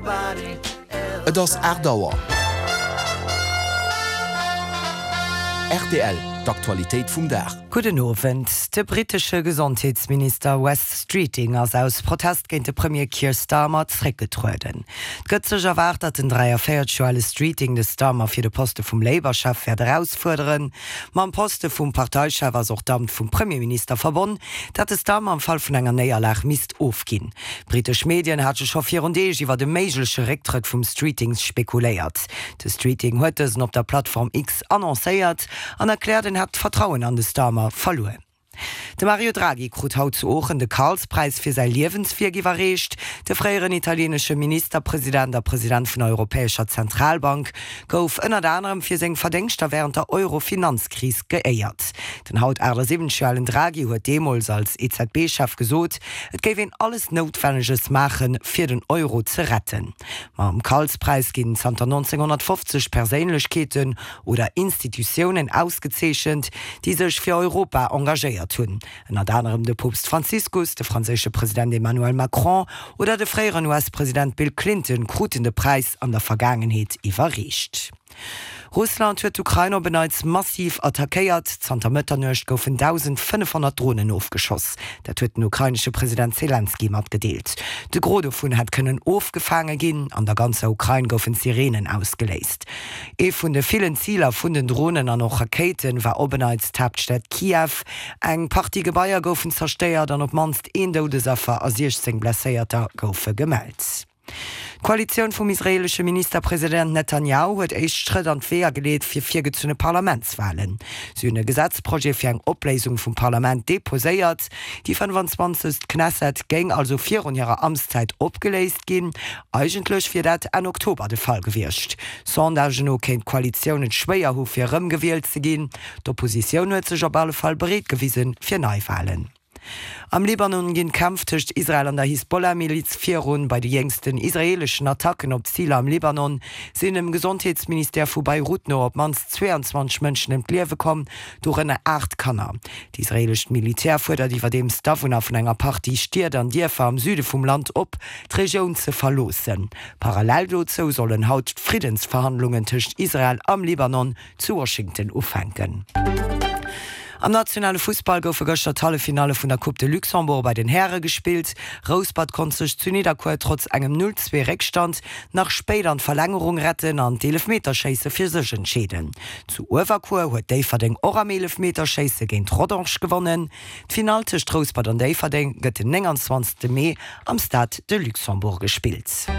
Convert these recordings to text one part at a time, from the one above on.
Et ass 8 Auer. Rtl, d'Aktualitéit vum Dag. Gudden Owend. De brittesche Gesondheetsminister Wes Streeting ass aus Protest géint de Premier Keir Starmer zréckgetrueden. Et gëtt sech erwaart, datt den 43 Joer ale Streeting de Starmer fir de Poste vum Labour-Chef wäert erausfuerderen. Mam Poste vum Parteichef ass och d'Amt vum Premierminister verbonn, dat de Starmer am Fall vun enger Néierlag misst ofginn. Brittesch Medien hate scho virun Deeg iwwert e méigleche Récktrëtt vum Streeting spekuléiert. De Streeting huet dësen op der Plattform X annoncéiert an erkläert, en hätt d'Vertrauen an de Starmer verluer. De Mario Draghi krut haut zu Oochen de Karlspräis fir säi Liewenswierk iwwerreecht. De fréieren italieenesche Ministerpresident a President vun der Europäescher Zentralbank gouf ënnert anerem fir seng Verdéngschter wärend der Euro-Finanzkris geéiert. Den haut 78 Joer alen Draghi huet deemools als EZB-Chef gesot, et géif een alles Noutwenneges maachen, fir den Euro ze retten. Mam Karlspräis ginn zanter 1950 Perséinlechkeeten oder Institutiounen ausgezeechent, déi sech fir Europa engagéiert hunn. Ënnert anerem de Poopst Franziskus, de franséische President Emmanuel Macron oder de fréieren US-President Bill Clinton kruten de Präis an der Vergaangenheet iwwerreecht. Russland huet d'Ukrain op en Neits massiv attackéiert. Zanter Mëtternuecht goufen 1.500 Dronen ofgeschoss. Dat huet den ukrainesche President Selenskyj matgedeelt. De Gros dovun hätt kënnen ofgefaange ginn. An der ganzer Ukrain goufen Sireenen ausgeléist. Ee vun de villen Ziler vun den Dronen an och Rakéite war op en Neits d'Haaptstad Kiew. Eng Partie Gebaier goufen zerstéiert an op d'mannst een Doudesaffer a 16 Blesséierter goufe gemellt. D'Koalitioun vum israeelesche Ministerpresident Netanjahu huet éischt Schrëtt an d'Weeër geleet fir virgezunne Parlamentswalen. Si hunn e Gesetzprojet fir eng Opléisung vum Parlament deposéiert. Déi 25. Knesset géing also virun hirer Amtszäit opgeléist ginn. Eigentlech wier dat Enn Oktober de Fall gewiescht. Sondagen no kéint d'Koalitioun et schwéier hu fir erëmgewielt ze ginn. D'Oppositioun huet sech op alle Fall bereet gewisen fir Neiwalen. Am Libanon ginn d'Kämpf tëscht Israel an der Hisbollah-Miliz virun. Bei de jéngsten israeeleschen Attacken op Ziler am Libanon sinn dem Gesondheetsministère vu Beirut no op d'mannst 22 Mënschen ëm d'Liewe komm, dorënner 8 Kanner. D'israeelescht Militär fuerdert iwwerdeems d'Awunner vun enger Partie Stied an Dierfer am Süde vum Land op, d'Regioun ze verloossen. Parallel dozou sollen haut d'Friddensverhandlungen tëscht Israel am Libanon zu Washington ufänken. Am nationale Fussball goufe gëschter d'Halleffinalle vun der Coupe de Luxembourg bei den Häre gespillt. Rouspert konnt sech zu Nidderkuer trotz engem 0, 2 Réckstand nach spéit an d'Verlängerung retten an d'Eelefmeterschéisse fir sech entscheeden. Zu Uewerkuer huet Déifferdeng och am Eelefmeterschéisse géint Rodange gewonnen. D'Finall tëscht Rouspert an Déifferdeng gëtt den 29 Mee am Stade de Luxembourg gespillt.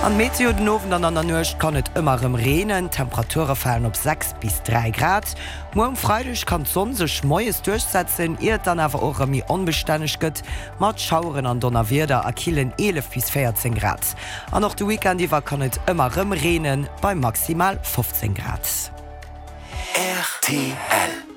An d'Meteo, Den Owend an an der Nuecht kann et ëmmer erëm reenen, d'Temperature falen op 6 bis 3 Grad. Muer um Freideg kann d'Sonn sech moies duerchsetzen, ier et dann awer och erëm méi onbestänneg gëtt mat Schaueren an Donnerwieder a killen 11 bis 14 Grad. An och de Weekend iwwer kann et ëmmer erëm reenen, bei maximal 15 Grad. Rtl.